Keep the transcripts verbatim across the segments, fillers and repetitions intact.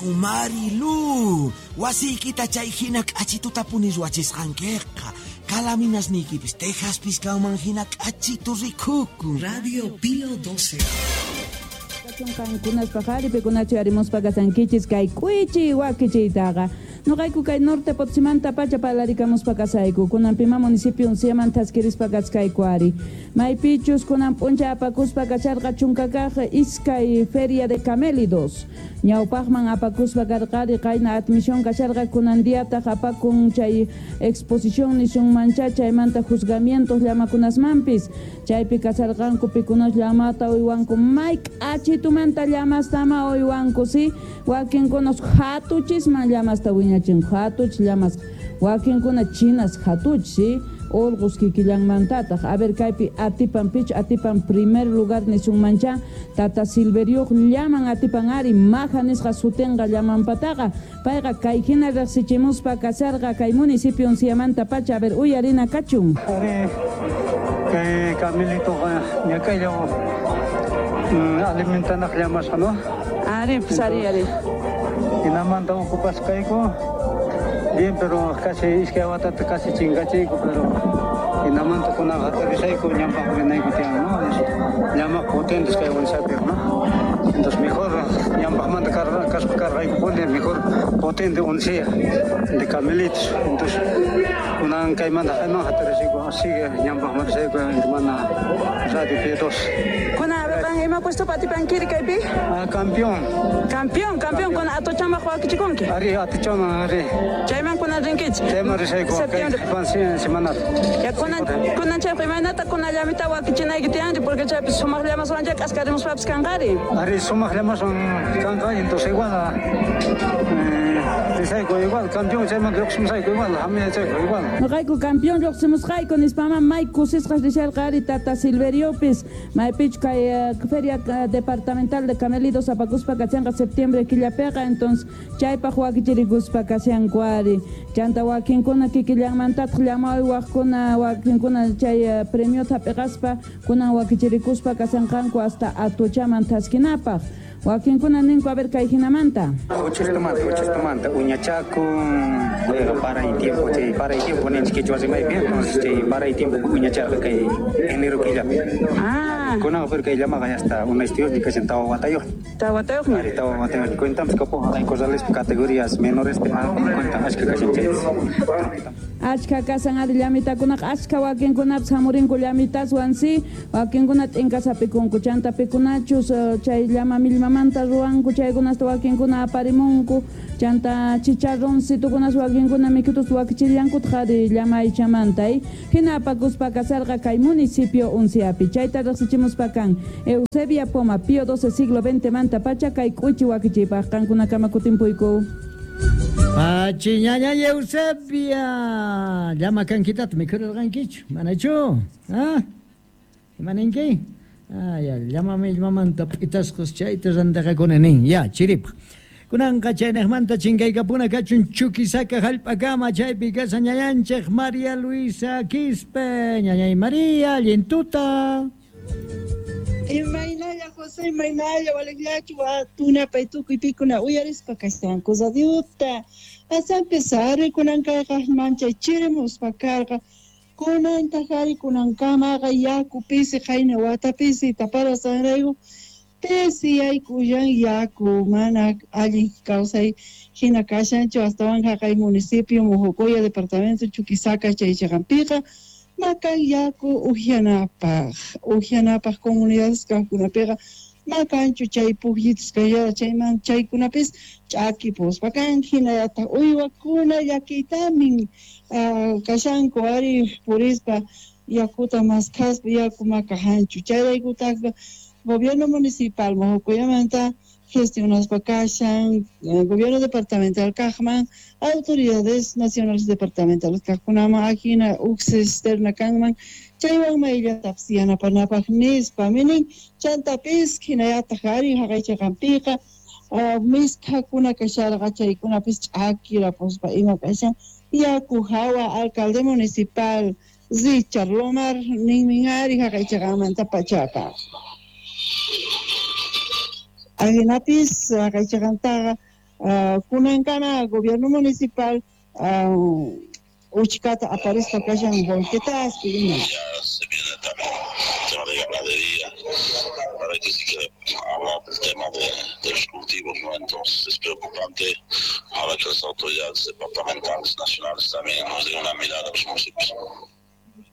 Marilu, wasiykita chay hina k'achitutapuni ruwachisqankiqa. Kalaminasniykipis Texaspis kanman hina k'achitu rikukun. Radio Pío doce. Kankunaspa qhari pikunachu arimuspa kasankichis kay k'uichi wakichiytaqa. Noqayku kay norte Potosímanta pacha parlarikamuspa kasayku. Kunan pima municipio Unciaman thaskirispa kachkayku ari. Maypichus kunan p'uncha apakuspa kacharqa chunkakaq iskay feria de camélidos. Ñawpaqman apakuspa karqari qayna admisión kasharqa kunan diataq apakun chay exposición nisunmancha chaymanta juzgamientos llamakunasmanpis. Chaypi kasarqanku pikunas llamata uywanku may k'achitumanta llamastama uywanku si wakinkunas hatuchisman llamasta wiñachinku hatuch llamas wakinkuna chinas hatuch si urqus kikillanmantataq. A ver kaypi atipan pich atipan primer lugar nisunmancha tata Silveriuq llaman atipan ari maja nisqa sutinqa llamanpataqa payqa kay hina riqsichimuspa kasarqa kay municipio Unciamanta pacha. A ver uyarina kachun. Ari kay camelitoqa ñakaylla alimentanaq llamasqa, ¿no? Ari, pues ari, ari. Hinamanta ocupasqayku. Bien, pero casi iskay watata casi chinkachiyku, pero hinamanta kunan hatarisayku ñampaq rinayku tiyan, ¿no? Llama potentes kay Unciapiq, ¿no? Entonces mejor ñampaqmanta kaspa karqaykupuni mejor potente Uncia de camelitos. Entonces kunan kaymanta kayman hatarisayku, sigue ñampaqmanta risayku hermana Radio P dos. Kunan ima puesto atipankiri kaypi? Ah, campeón. Campeón, campeón, con atochamaq wakichikunki. Ari, atochama, ari. Chayman kunan rinkichik. Chayman risayku. Septiembre. Semanal. Ya kunan kunan chaypi imaynata kunan llamita wakichinayki tiyanri porque chaypi sumaq llamaswan chay k'askarimuspapis kanqari. Ari, sumaq llamaswan kanqa, entonces igual eh, risayku igual, campeón chayman lluqsimusayku igual, hamiyachayku igual. Noqayku campeón lluqsimusqayku nispama may kusisqas risharqa ari tata Silveriopis maypichu kay feria departamental de camelidos apakuspa kachanqa septiembre killapiqa, entonces chaypaq wakichirikuspa kashanku ari. Chanta wakinkuna kikillanmantataq llamaywaqkuna wakinkuna chay premiota hap'iqaspa kunan wakichirikuspa kashanqanku hasta atuchaman thaskinapaq. Wakinkuna ninku a ver kay hinamanta. Uchistamanta, uchistamanta, uñachakun, bueno, para y tiempo, chay, para y tiempo, ninchik quechua rimaypi, entonces chay, para y tiempo uñacharqa kay enero killapi. Ah. Kunan pero kay llamaqa ya hasta una estudios ni kashan tawa watayuq. Tawa watayuqña. Ari tawa watayuq. Cuentamos kapo hay corrales categorías menores pe cuentan achka kashan chay. Achka kasan ari llamitakunaqa achka wakinkunapis hamurinku llamitaswan si wakinkuna t'inkasapikunku chanta pikunachus chay llama millmamanta ruwanku chaykunasta wakinkuna aparimunku chanta chicharroncitukunas wakinkuna mikhutus wakichillankutaq ari llama aychamanta hina apakuspa kasarqa kay municipio Unciapi. Chayta riqsichimuspa kan Eusebia Poma Pío doce siglo veinte manta pacha kay k'uchi wakichiypaq qankunakama kutimpuyku. Pachi ñaña Eusebia, llama kankitata mikhurarqankichu, manachu? Ah, imaninki? Ah, ya, llama millmamanta p'itasqas chayta rantaqakuna nin, ya, chiripaq. Kunanqa chaynaqmanta chinkaykapuna kachun Chuquisaca hallp'akama chaypi kasa ñañanchik María Luisa Quispe, ñañay María, allintuta. Imaynalla José, imaynalla walaqllachu tunapay tukuy pikuna uyarispa kashanku radiota. Asanpis ari kunan kayqa manchay chirimuspa karqa. Kunantaq ari kunankamaqa yaku pisi qayna wata pisi taparasqanrayku pisi yaykullan yaku mana allin kawsay hina kashanchu astawan haqay municipio Mojocoya departamento Chuquisaca chay chaqanpiqa. Makan yaku uhianapaq, uhianapaq comunidades kaqkunapiqa makanchu chay pujyitus kayara chayman chaykunapis ch'akipuspa kan hinallataq uywakuna llakiytamin kashanku ari purispa yakuta maskhaspa yaku makahanchu chayraykutaqqa gobierno municipal Mojocoyamanta gestionaspa kashan gobierno departamental kaqman autoridades nacionales departamentales kaqkunaman ajina uq cisterna kanman chaywan mayllatapis yanapanapaq nispa minin chantapis hinallataq ari haqaychaqanpiqa misk'akuna kasharqa chaykunapis ch'akirapuspa ima kashan yaku hawa alcalde municipal Richard Lomar ninmin ari haqaychaqanmanta pachaqa. Ajinapis haqaychaqantaqa Uh, kunankama gobierno municipal uh, uchkata aparispa kashan volquetaspi ima. Ya se viene también el tema de ganadería, para que se quiere hablar del tema de, de los cultivos, ¿no? Entonces es preocupante ahora que las autoridades departamentales, nacionales también nos den una mirada a los municipios.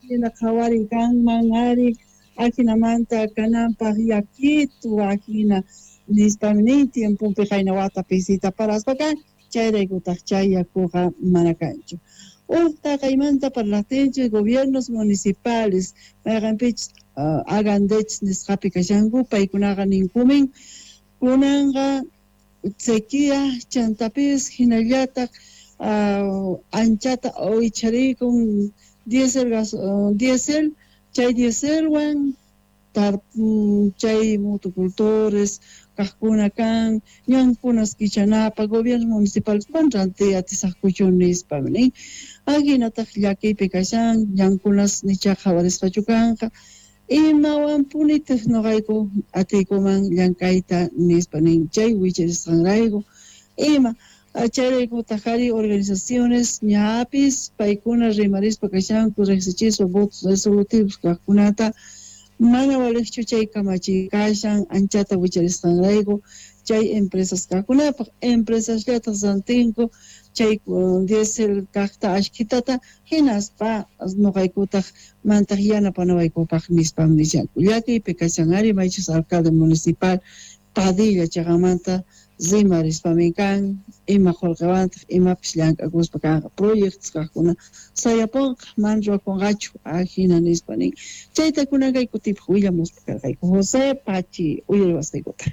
Hina qhawari kanman ari ajinamanta kananpaq yakitu ajina nispami nin tiemponpi qayna wata pisita paraspa kan chayraykutaq chay yakuqa mana kanchu. Uj taqaymanta parlaqtinchik gobiernos municipales mayqanpichus uh, agandech nisqapi kashanku paykunaqa ninkumin kunanqa sequía chantapis hinallataq uh, anchata uycharikun diésel gas uh, diésel chay dieselwan tar chay motocultores kaqkuna kan ñankunas kichanapa gobierno municipal man rantiy atisaqkuchu nispa nin ajinataq llakiypi kashan ñankunas nicha qhawarisqachu kanqa imawanpunitaq noqayku atiykuman llank'ayta nispa nin chay wicharisqanrayku ima chayraykutaq ari organizaciones ñapis paykuna rimarispa kashanku riqsichispa votos resolutivos kaqkunata mana waliqchu chay kamachiy kashan anchata wicharisqanrayku chay empresas kaqkunapaq empresasllataq rantinku chay diésel kaqta ashkitata hinaspa noqaykutaq mantaq yanapanawaykupaq nispam nishanku llakiypi kashan ari maychus alcalde municipal Padilla chaqamanta rimarispamin kan ima qullqiwantaq imapis llank'akuspa kanqa proyectos kaqkuna sayapunqa mana ruwakunqachu ajina nispa nin chayta kunan kay kutipaq willamuspa karqayku José Pachi uyariwasqaykuta.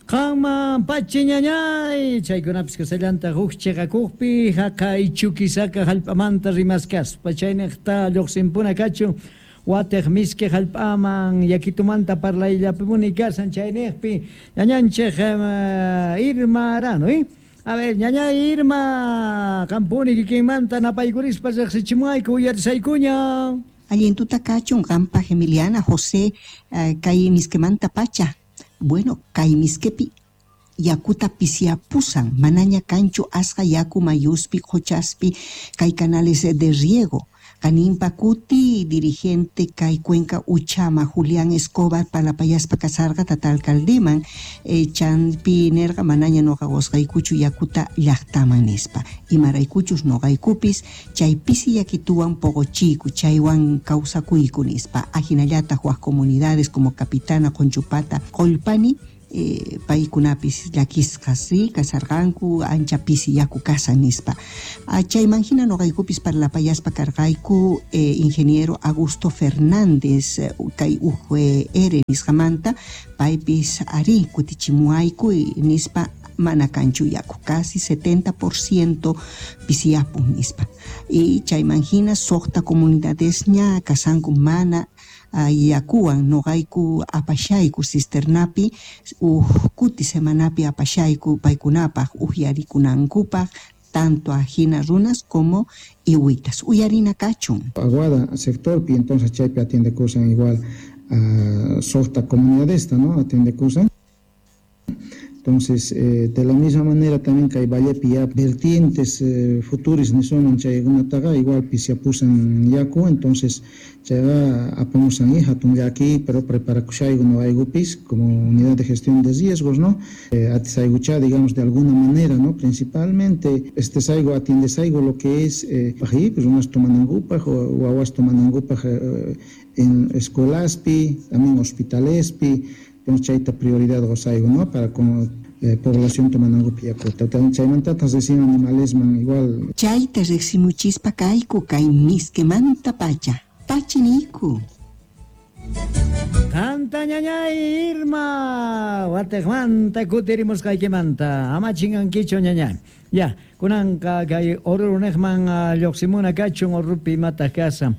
Qanman Pachi ñañay chaykunapis kasallanta huk chiqakuqpi haqay Chuquisaca hallp'amanta rimaskaspa chayniqta lluqsinpuna kachun watej miski hallp'aman yakitumanta parlayllapimuni kasan chayniqpi ñañanchik Irma Arano, ¿eh? A ver, ñañay Irma, qampuni kikinmanta napaykurispa riqsichimuayku uyarisaykuña. Allintuta kachun qanpaq Emiliana José uh, kay miskimanta pacha. Bueno, kay miskepi yakuta pisiapusan, manaña kanchu asqa yaku mayuspi, qochaspi, kay canales de riego. Kanimpa kuti, dirigente kay Cuenca Uchama, Julián Escobar, palapayaspa kasarqa tata alcaldeman, eh, chanpi nerqa manaña noqaqosqaykuchu yakuta llaqtaman nispa. Imaraykuchus noqaykupis, chay pisi yakituwan poqochiku, chaywan kawsakuyku nispa. Ajinallataq wak comunidades como Capitana, Conchupata, Qollpani, Eh, paykunapis llakisqas ri kasarqanku ancha pisi yaku kasan nispa. Chayman hina noqaykupis parlapayaspa karqayku eh, ingeniero Augusto Fernández kay U G R nisqamanta paypis ari kutichimuayku nispa mana kanchu yaku casi setenta por ciento pisiyapun nispa. Y chayman hina suqta comunidadesña kasanku mana yakuwan noqayku apashayku cisternapi uj kuti semanapi apashayku paykunapaq uhyarikunankupaq tanto ajina runas como iwitas uyarina kachun. Aguada sectorpi entonces chaypi atiende kusan igual a suqta comunidadesta, ¿no? Atiende kusan. Entonces, eh, de la misma manera también que hay vallepi ya vertientes eh, futuris nisuman chaykunataqa igual pisiapusan yaku, entonces chayqa apamusan hatun llaki, pero preparakushayku noqaykupis como unidad de gestión de riesgos, ¿no? Eh, atisaykucha, digamos, de alguna manera, ¿no? Principalmente, este saigo atiendesaygo lo que es, eh, pues unas tomanankupaj o wawas tomanankupaj eh, en escuelaspi, también hospitalespi, entonces chayta prioridad gozaigo, ¿no? Para con eh, población tomanangupi yakuta. Chaymantatas recién animalesman igual. Chayta riqsimuchispa kayku kay miskimanta pacha. Pachiniku. Qanta ñañay Irma, watejmanta kutirimusqaykimanta, ama chingankichu ñañay. Ya, kunanqa kay Orurunejman lluqsimuna kachun Orupi imataq kasan.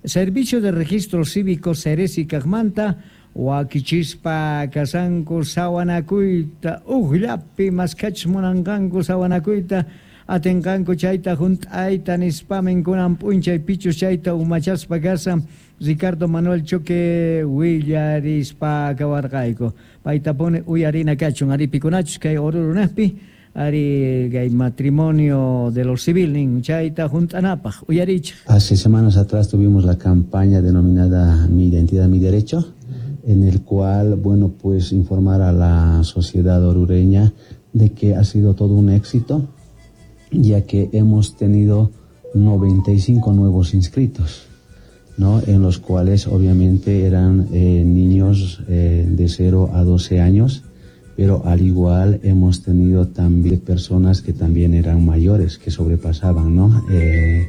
Servicio de Registro Cívico Ceresi kaqmanta wakichispa kasanku sawanakuyta uqllapi maskachis munanqanku sawanakuyta Atinqanku chayta junt'ayta nispamin kunan p'unchay pichus chayta umachaspa kasan Ricardo Manuel Choque willarispa kawarqayku. Paytapuni uyarina kachun ari pikunachus kay Orurunejpi ari kay matrimonio de lo civil nin chayta junt'anapaj uyarichej. Hace semanas atrás tuvimos la campaña denominada Mi Identidad, Mi Derecho, en el cual, bueno, pues informar a la sociedad orureña de que ha sido todo un éxito, ya que hemos tenido noventa y cinco nuevos inscritos, ¿no? En los cuales obviamente eran eh, niños eh, de cero a doce años, pero al igual hemos tenido también personas que también eran mayores, que sobrepasaban, ¿no? Eh,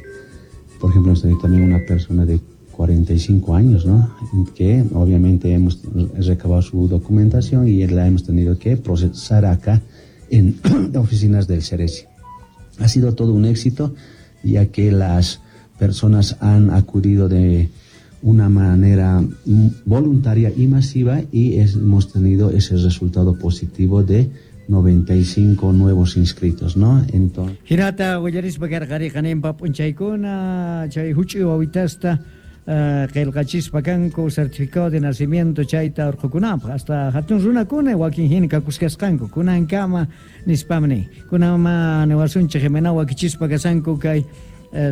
por ejemplo, hemos tenido también una persona de cuarenta y cinco años, ¿no? Que obviamente hemos recabado su documentación y la hemos tenido que procesar acá en oficinas del Ceresi. Ha sido todo un éxito, ya que las personas han acudido de una manera voluntaria y masiva y hemos tenido ese resultado positivo de noventa y cinco nuevos inscritos, ¿no? Entonces... Hinata willarispa karqariqa ninpa p'unchaykuna chay huch'uy wawitasta qillqachispa kanku certificado de nacimiento chayta urqukunapaq hasta hatun runakuna wakin hina kakuskasqanku kunankama nispam nin kunama niwasunchik imana wakichispa kasanku kay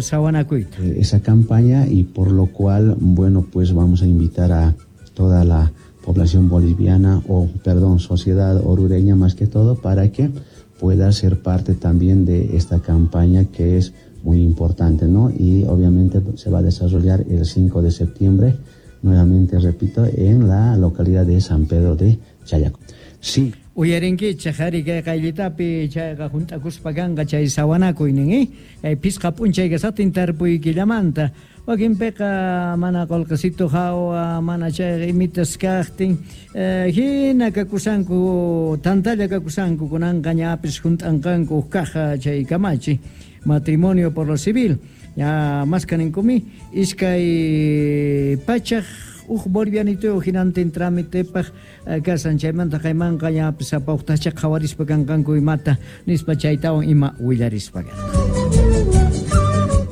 sawanakuyta. Esa campaña y por lo cual, bueno, pues vamos a invitar a toda la población boliviana o, perdón, sociedad orureña más que todo para que pueda ser parte también de esta campaña que es muy importante, ¿no? Y obviamente se va a desarrollar el cinco de septiembre, nuevamente repito, en la localidad de San Pedro de Chayaco. Sí. Uyarinkichej ari kay qayllitapi chayqa junt'akuspa kanqa chay sawanakuynin, eh? Kay pisqa p'unchay kasatin tarpuyquillamanta. Wakinpiqa mana qolqesito hawa, mana chayqa imitas kaqtin, eh, hina kakusanku, tantalla kakusanku, kunanqa ñapis junt'anqanku uj caja chay kamachi. Matrimonio por lo civil. Ya más kaninkumi iskay pachaj uj bolivianito hinantin trámitepaj kasan chaymanta qaymanqa ñapis sapa uqtacha qhawarispa kanqanku imata nispa chaytawan ima willarispa karqa.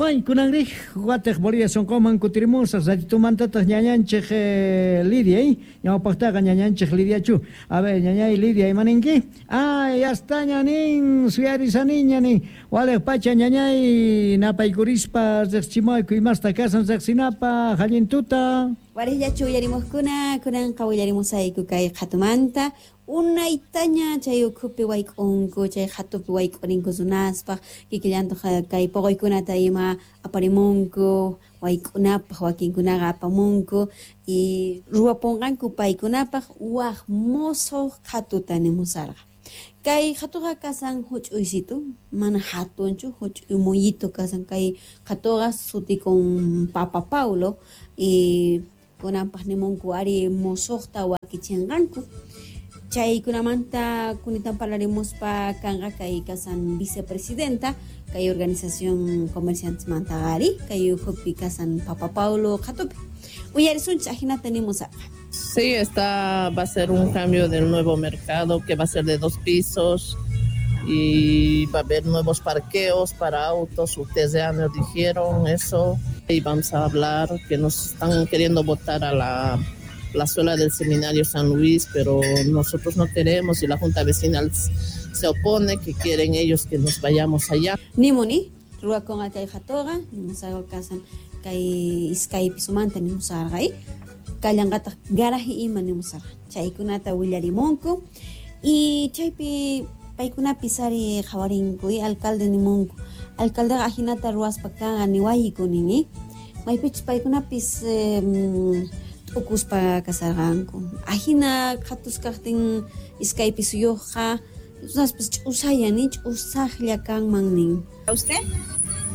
Ay, kunanrij watej Bolivia sonqoman kutirimusaq ratitumantatataj ñañanchej eh, Lidia, eh? Ñawpaqtaqa ñañanchej Lidiachu. A ver, ñañay Lidia, imaninki? Ah, ya está ñanin, suyarisaniña nin. Walej pacha ñañay napaykurispa riqchimayku imasta kasan riqsinapaq allintuta. Warillachu willarimuskuna, kunanqa willarimusayku kay qhatumanta. Unaytaña chay ukhupi wayk'unku, chay qhatupi wayk'urinku runaspaq, kikillantaq kay poqoykunata ima aparimunku, wayk'unapaq wakinkunaqa apamunku y ruwapunqanku paykunapaq waj mosoq qhatuta nimusarqa. Kay qhatuqa kasan huch'uysitu, mana hatunchu, huch'uy muyito kasan kay qhatuqa sutikun Papa Paulo y kunanpaq nimunku ari mosoqta wakichinqanku. Chaykunamanta kunitan parlarimuspa kanqa kay kasan vicepresidenta kay organización comerciantes mantagari kay ukhupi kasan Papa Paulo qhatupi. Uyarisunchik ajinata nimusarqa. Sí, está, va a ser un cambio del nuevo mercado que va a ser de dos pisos y va a haber nuevos parqueos para autos. Ustedes ya nos dijeron eso y vamos a hablar que nos están queriendo botar a la plazuela del Seminario San Luis, pero nosotros no queremos y la Junta Vecinal se opone, que quieren ellos que nos vayamos allá. Nimuni, ruwakunqa kay qhatuqa, nimusarqa kasan kay iskay pisumanta nimusarqa, kallanqataq garaje ima nimusarqa. Chaykunata willarimunku y chaypi paykunapis ari qhawarinku y alcalde nimunku. Alcaldeqa ajinata ruwaspa kanqa niwayku nini. Maypichus paykunapis eh, t'ukuspa kasarqanku. Ajina qhatus kaqtin iskay pisuyuqqa runaspis ch'usaya ni ch'usaqlla kanman nin. ¿A usted?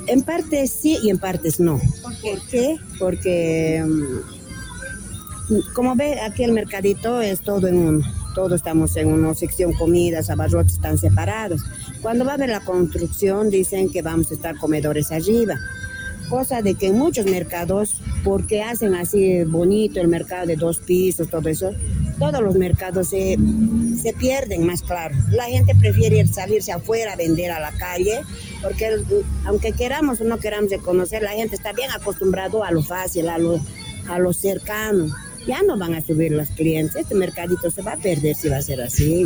En parte sí y en partes no. ¿Por qué? ¿Por qué? Porque como ve, aquí el mercadito es todo en uno. Todos estamos en una sección, comidas, abarrotes están separados. Cuando va a haber la construcción, dicen que vamos a estar comedores arriba. Cosa de que en muchos mercados, porque hacen así bonito el mercado de dos pisos, todo eso, Todos los mercados se, se pierden, más claro. La gente prefiere salirse afuera a vender a la calle, porque el, aunque queramos o no queramos reconocer, la gente está bien acostumbrado a lo fácil, a lo, a lo cercano. Ya no van a subir los clientes, este mercadito se va a perder si va a ser así.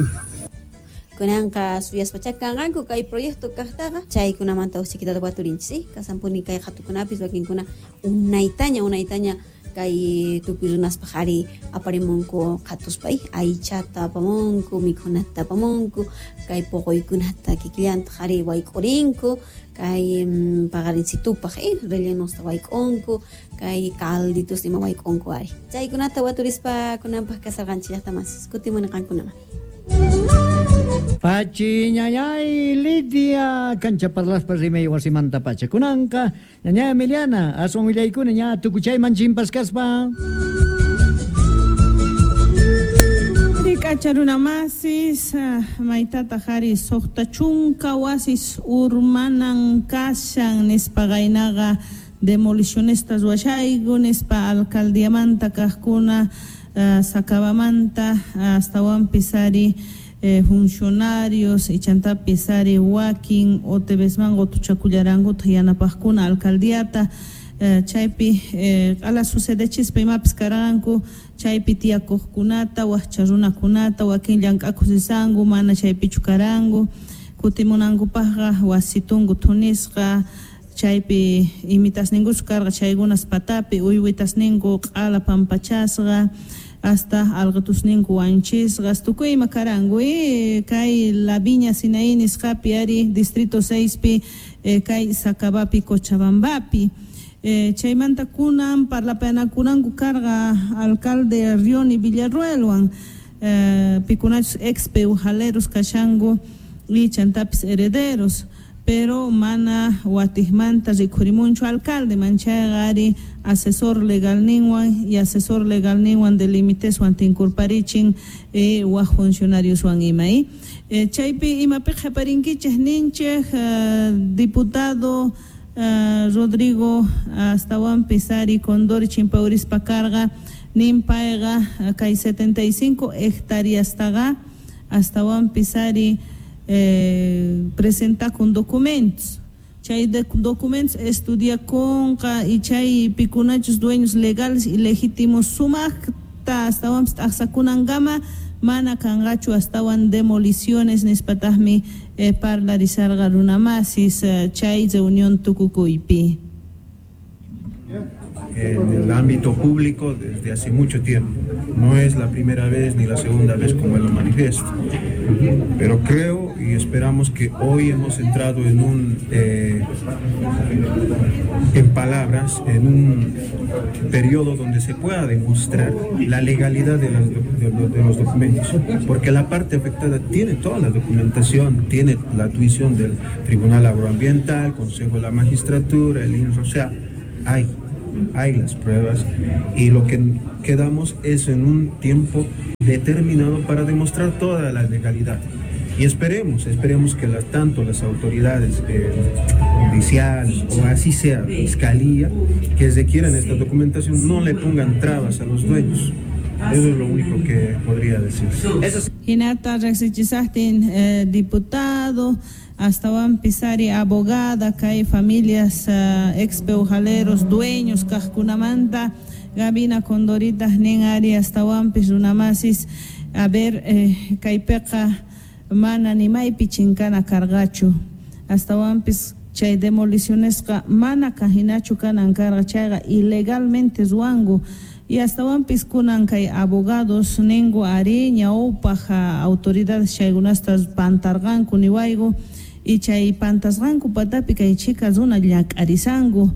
Kunanqa suyaspacha kanqanku kay proyecto kaqtaqa chaykunamanta usikitata waturinchis, kasanpuni kay qhatukunapis wakinkuna unaytaña unaytaña kay tukuy runaspaq ari aparimunku qhatuspa aychata apamunku, mikhunata apamunku, kay poqoykunata kikillantaq ari wayk'urinku, kay paqarinsitupaq eh, rellenusta wayk'unku, kay calditos ima wayk'unku ari. Chaykunata waturispa kunanpaq kasarqanchis llaqta masis, kutimuni qankunaman. Pachi ñañay Lidia cancha parlaspa rimay wasimanta pacha kunanqa ñaña Emiliana aswan willaykuna ña tukuchayman chimpaskaspa. Rik'acha runa masis maytata qhari suqta chunka wasis urmanan kashan nispa qaynaqa demolicionesta ruwashayku nispa alcaldiamanta kaqkuna uh, Sacabamanta astawanpis ari Eh, funcionarios ichantapis ari wakin otebesman qotuchakullarankuta yanapaqkuna alcaldiata eh, chaypi eh, ala sucedechispa imapis karanku chaypi tiyakuqkunata waqcha runakunata wakin llank'akuq risanku mana chaypichu karanku kutimunankupaqqa wasitunku thunisqa chaypi imitasninkuchu karqa chaykunas patapi uywitasninku q'ala pampachasqa hasta alqatusninku wanchisqas tukuy ima karanku eh, kay La Viña Sinaí nisqapi ari distrito seispi eh, kay Sacabapi Cochabambapi eh, chaymanta kunan parlapanakunanku karqa alcalde Rioni Villarruelwan eh, pikunachus ex peujaleros kashanku y chantapis herederos pero mana watijmanta rikhurimunchu alcalde manchayqa ari asesor legal ninwan y asesor legal ninwan de limiteswan tinkurparichin eh, waj funcionarioswan ima eh. Eh, chaypi imapi qhaparinkichej ninchej eh, diputado eh, Rodrigo astawanpis ari Condori chimpaurispa karqa nin payqa kay setenta y cinco hectáreastaqa astawanpis ari Eh, presenta con documentos chay de documentos estudia conqa y chay pikunachus dueños legales y legítimos sumaqta astawanpis t'aqsakunankama mana kanqachu astawan demoliciones nispataqmi eh, parlarisarqa runamasis eh, chay reunión tukukuypi. En el ámbito público desde hace mucho tiempo. No es la primera vez ni la segunda vez como él lo manifiesta. Pero creo y esperamos que hoy hemos entrado en un, eh, en palabras, en un periodo donde se pueda demostrar la legalidad de, las, de, de los documentos. Porque la parte afectada tiene toda la documentación, tiene la tuición del Tribunal Agroambiental, Consejo de la Magistratura, el I N R O, o sea, hay. Hay las pruebas y lo que quedamos es en un tiempo determinado para demostrar toda la legalidad. Y esperemos, esperemos que las, tanto las autoridades eh, judiciales o así sea, fiscalía, que requieran esta documentación, no le pongan trabas a los dueños. Eso es lo único que podría decir. Hinata riqsichisaqtin eh, diputado astawanpis ari abogada kay familias uh, ex peujaleros dueños kaqkunamanta Gabina Condorita nin ari astawanpis runamasis a ver eh, kaypiqa mana nimaypi chinkana karqachu astawanpis chay demolicionesqa mana kajinachu kanan karqa chayqa ilegalmente ruwanku y astawanpis kunan kay abogados ningu ari ñawpaq autoridades chaykunasta pantarqanku niwayku y chay pantasqanku patapi kay chika runa llak'arisanku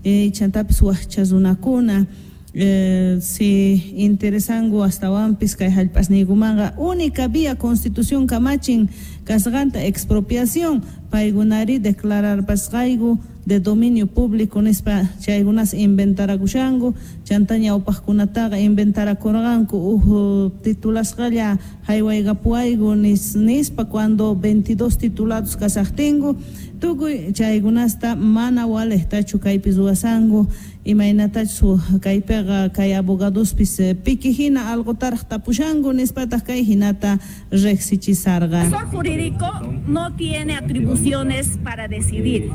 eh, chantapis waqcha runakuna eh, si interesanku astawanpis kay hallp'asniykumanqa única vía constitución kamachin kasqanta expropiación paykunari declararpasqayku de dominio público nispa chaykunas inventarakushanku chanta ñawpaqkunataqa inventarakurqanku uj titulasqalla haywaykapuwayku nis, nispa cuando veintidós titulados kasaqtinku tukuy chaykunasta mana walejtachu kaypi ruwasanku Imaynatachu kaypiqa kay abogadospis piki hina alqutaraq tapushanku nispataq kay hinata riqsichisarqa. El asesor jurídico no tiene atribuciones para decidir.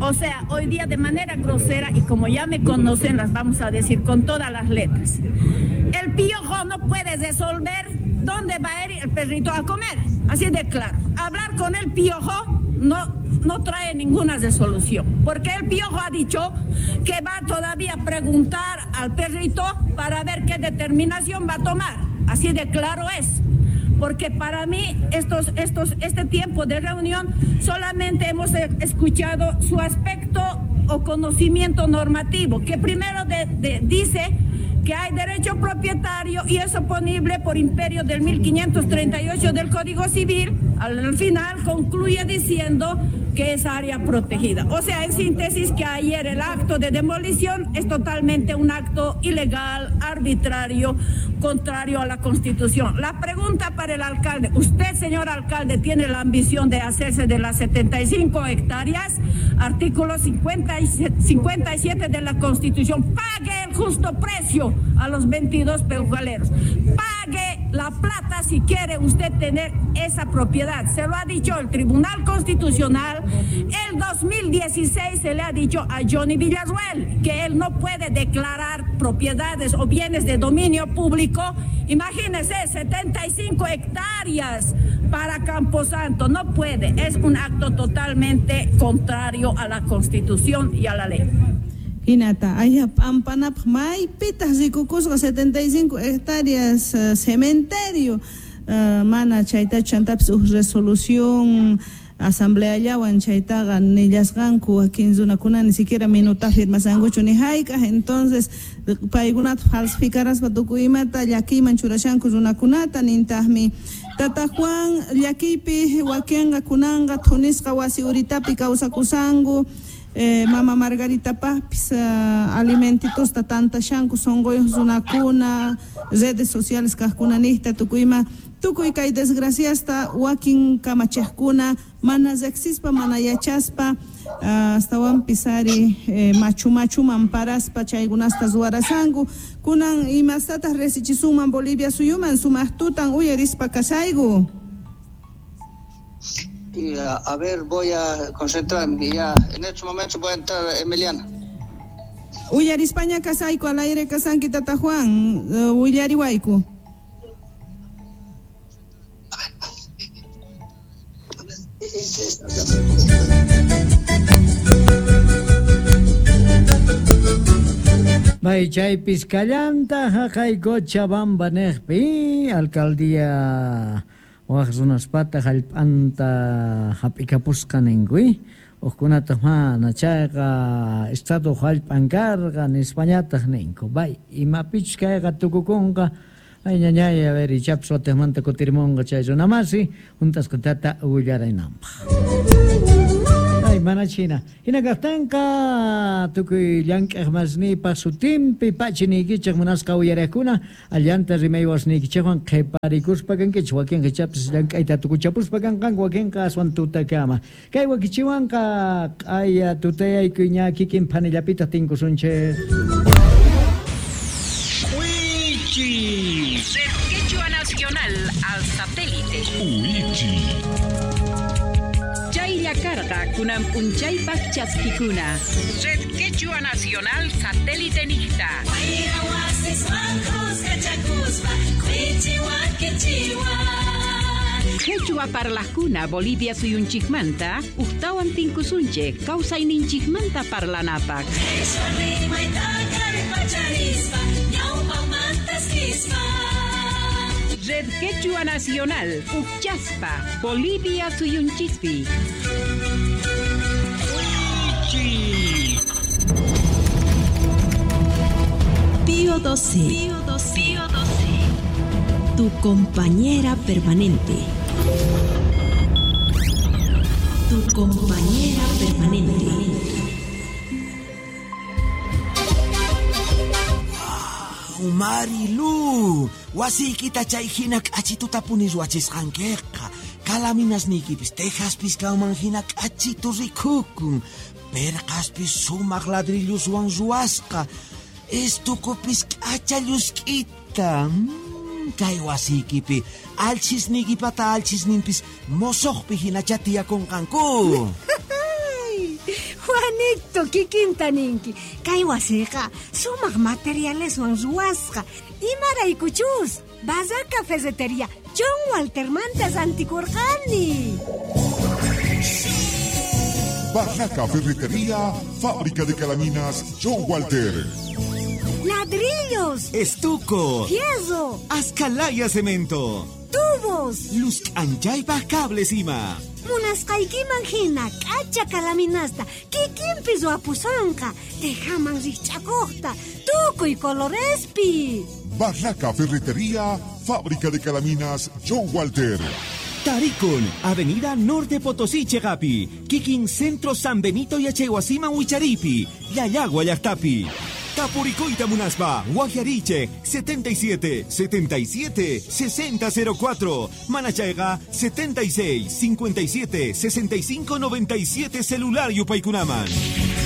O sea, hoy día de manera grosera, y como ya me conocen, las vamos a decir con todas las letras. El piojo no puede resolver dónde va a ir el perrito a comer. Así de claro. Hablar con el piojo no, no trae ninguna resolución, porque el piojo ha dicho que va todavía a preguntar al perrito para ver qué determinación va a tomar. Así de claro es. Porque para mí estos, estos, este tiempo de reunión solamente hemos escuchado su aspecto o conocimiento normativo, que primero de, de, dice que hay derecho propietario y es oponible por imperio del mil quinientos treinta y ocho del Código Civil. Al final concluye diciendo que es área protegida. O sea, en síntesis, que ayer el acto de demolición es totalmente un acto ilegal, arbitrario, contrario a la Constitución. La pregunta para el alcalde: usted, señor alcalde, tiene la ambición de hacerse de las setenta y cinco hectáreas, artículo cincuenta y siete de la Constitución. Pague el justo precio a los veintidós peujaleros. Pague la plata si quiere usted tener esa propiedad. Se lo ha dicho el Tribunal Constitucional. El dos mil dieciséis se le ha dicho a Johnny Villarruel que él no puede declarar propiedades o bienes de dominio público. Imagínese, setenta y cinco hectáreas para Camposanto. No puede. Es un acto totalmente contrario a la Constitución y a la ley. Hinata, ayha p'ampanapaq maypitaq rikukusqa setenta y cinco hectáreas uh, cementerio uh, mana chaytachu chantapis uj resolución asambleallawan chaytaqa nillasqanku wakin runakuna ni siquiera minuta firmasankuchu ni hayk'aq. Entonces paykunata falsificaraspa tukuy imata llakiyman churashanku runakunata. Nintaqmi Tata Juan llakiypi wakinqa kunanqa thunisqa wasi uritapi kawsakusanku. Eh, mama Margarita pajpis uh, alimentitosta tantashanku sonqoyuq runakuna redes sociales kaqkunanijta tukuyma tukuy kay desgraciasta wakin kamachiqkuna mana riqsispa mana yachaspa uh, astawanpis ari eh, machu machuman paraspa chaykunasta ruwarasanku. Kunan imastataq risichisunman Bolivia suyuman sumaq tutan uyarispa kasayku. Y a, a ver, voy a concentrarme ya. En estos momentos voy a entrar, Emiliana. Uyarispaña kasayku al aire kasanki Tata Juan, uh, willariwayku. May chaypis kallanta haqay Cochabamba neqpi alcaldía waq runaspata hallp'anta hap'ikapusqa ninkuy uqkunataq mana chayqa estado hallp'an karqa nispañataq ninku. Bay imapichus kayqa tukukunqa. Ay ñañay, a ver, ichapis watiqmanta kutirimunqa chay runamasi juntasqatata willaraynanpaq. Ay mana china hina kaqtanqa tukuy llank'aq masniypaq sutinpi pachiniykichik munasqa uyariqkuna allanta rimaywasniykichikwan qhiparikuspa kankichik wakinqa ichapis llank'ayta tukuchapuspa kanqanku wakinqa aswan tutakama kay wakichiwanqa q'aya tutayaykuy ña kikin phanillapitaq tinkusunchik. Wichi Red Quechua Nacional al satélite. Wichi Chaylla karqa kunan p'unchaypaq chaskikuna. Red Quechua Nacional satélite niqta. Quechua parlaqkuna Bolivia suyunchikmanta uqtawan tinkusunchik kawsayninchikmanta parlanapaq. Red Quechua Nacional, Uchaspa, Bolivia suyunchispi. Pío doce. Pío doce. Pío doce. Tu compañera permanente. Tu compañera permanente. Wow, Marilu, wasiykita chay hina k'achitutapuni ruwachisqankiqa. Calaminasniykipis tejaspis kanman hina k'achitu rikukun. Perqaspis sumaq ladrilloswan ruwasqa. Estukupis k'acha llusk'ita. Mm, kay wasiykipi alchisniykipata alchisninpis mosoqpi hinacha tiyakunqanku. Juanito, kikinta ninki. Kay wasiqa sumaq materialeswan ruwasqa. Imaraykuchus Barraca Ferretería John Waltermanta rantikurqani. Barraca Ferretería, fábrica de calaminas John Walter. Ladrillos, estuco, fierro, ascalaya cemento, tubos, luz anchaypaj cables ima. Munasqaykiman hina k'acha calaminasta kikinpi ruwapusonqa, tejaman rikch'akuqta, tukuy colorespi. Barraca Ferretería, fábrica de calaminas John Walter. Tarikun, Avenida Norte Potosí, Chegapi, Kikin Centro San Benito Yachaywasiman Wicharipi, Llallagua llaqtapi. Tapuricoita Munaspa, Guajariche, setenta y siete, setenta y siete, sesenta cero cuatro, Manachayga, setenta y seis, cincuenta y siete, sesenta y cinco, noventa y siete, celular Yupaykunaman.